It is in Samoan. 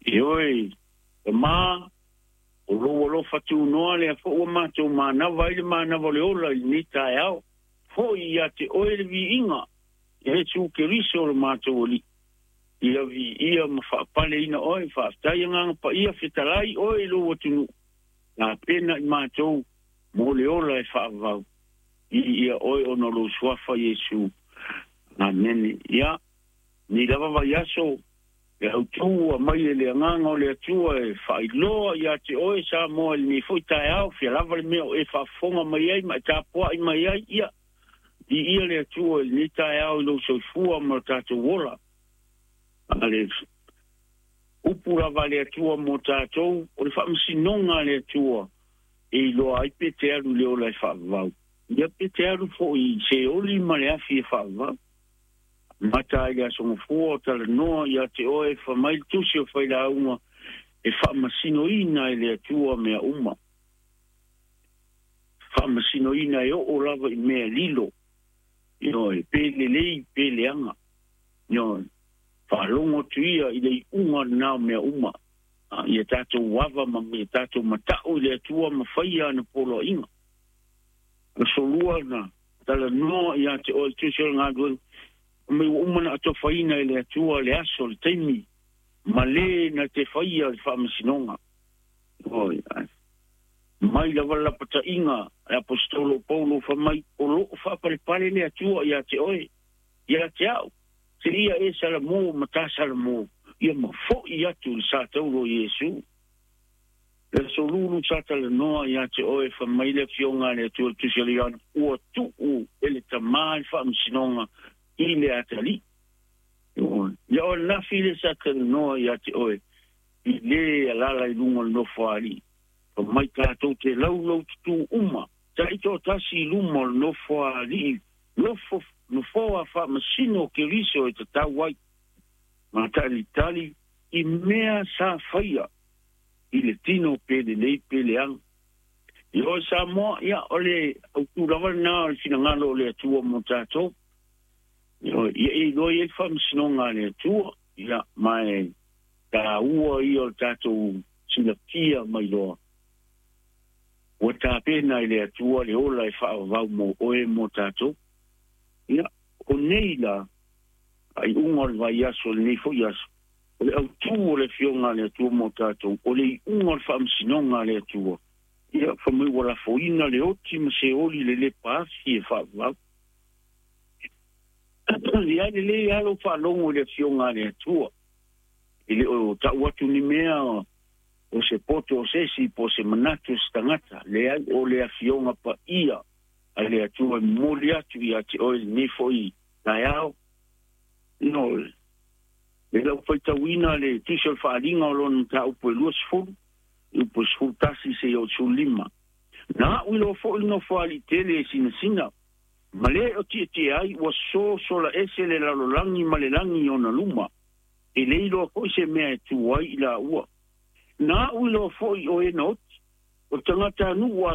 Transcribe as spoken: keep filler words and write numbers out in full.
Ioe, tamā, o lou alofa tunoa lea foʻi ua matou manava ai le manava o le ola i lenei taeao. Foʻi ia te oe le viiga, Iesu Keriso o le matou Alii. Ia viia ma faapaleina oe, faafetai Agaga Paia, fetalai oe i lou atunuu, tapena i matou mo le ola e faavavau. Viia oe ona o lou suafa Iesu. Amene. Ia, nei lava vaiaso, e autū aumai e le Agaga o le Atua e faailoa ia te oe Samoa i lenei foi taeao, fia lava le mea o e faafofoga mai ai ma e tapuai mai ai, ia, viia le Atua i lenei taeao i lou soifua ma lo tatou ola. A le upu lava a le Atua mo tatou, o le faamasinoga a le Atua e iloa ai pe te alu i le ola e faavavau, ia pe te alu foi i Seoli ma le afi e faavavau. Amata ai le Aso Gafua o talanoa ia te oe, fai mai le Tusi o Failauga e faamasinoina e le Atua mea uma. Faamasinoina e oo lava i mea lilo, ioe, pe lelei pe leaga. Ioe, faalogo atu ia i le iuga lena o mea uma. Ia tatou ava ma ia tatou matau i le Atua ma faia ana poloaiga. Aso Lua na talanoa ia te oe le Tusi o le Galuega, mai ua uma na atofaina e le Atua le aso, le taimi, ma le na te faia le faamasinoga. Oi, ai. Mai lava le lapataiga a le Aposetolo o Paulo fai mai, o loo faapalepale le Atua ia te oe, ia te au, seia e salamo ma ta salamo, ia ma foʻi atu i le sa taulo o Iesu. Le Aso Lulu sa talanoa ia te oe, fai mai le Afioga a le Atua i le Tusi a le Ioane, ua tuu e le Tamā le faamasinoga i le atalii. Ia o le nafi le sa talanoa ia te oe, i lē alaala i luga o le nofoaalii. Fai mai tatou te laulau tutū uma, taitoatasi i luma o le nofoaali'i, nofo nofoa faamasino o Keriso e tatau ai, ma talitali i mea sa faia i le tino pe lelei pe leaga. I oe Samoa, ia o le autū lava lenā o le finagalo o le Atua mo tatou. Ia e iloa i ai le faamasinoga a le Atua, ia ma e taua ia o le tatou silafia mai loa. Ua tapena e le Atua le ola e faavavau mo oe mo tatou. Ia, o nei la, faaiuga o le vaiaso, lenei foi aso, o le autū o le Afioga a le Atua mo tatou, o le iuga o le faamasinoga a le Atua. Ia, fai mai ua lafoina le oti ma Seoli le lepa afi e faavavau. Ia lelei lava lou faalogo i le Afioga a le Atua. E le o tau atu ni mea o se poto o se isi po o se manatu o se tagata. Leai, o le Afioga Paia a le Atua e momoli atu ia te oe lenei foi taeao. No, le lau faitauina le Tusi o le Faaaliga o lona mataupu e luasefulu, i upu e sefulu tasi seia oo i le sefulu lima. Na a'u iloa foʻi le nofoaaliʻi tele e sinasina, ma le o tietie ai ua sosola ese le lalolagi ma le lagi i ona luma, e le iloa foʻi se mea e tu ai i laua. Na a'u iloa foʻi o e na oti, o tagatanuu.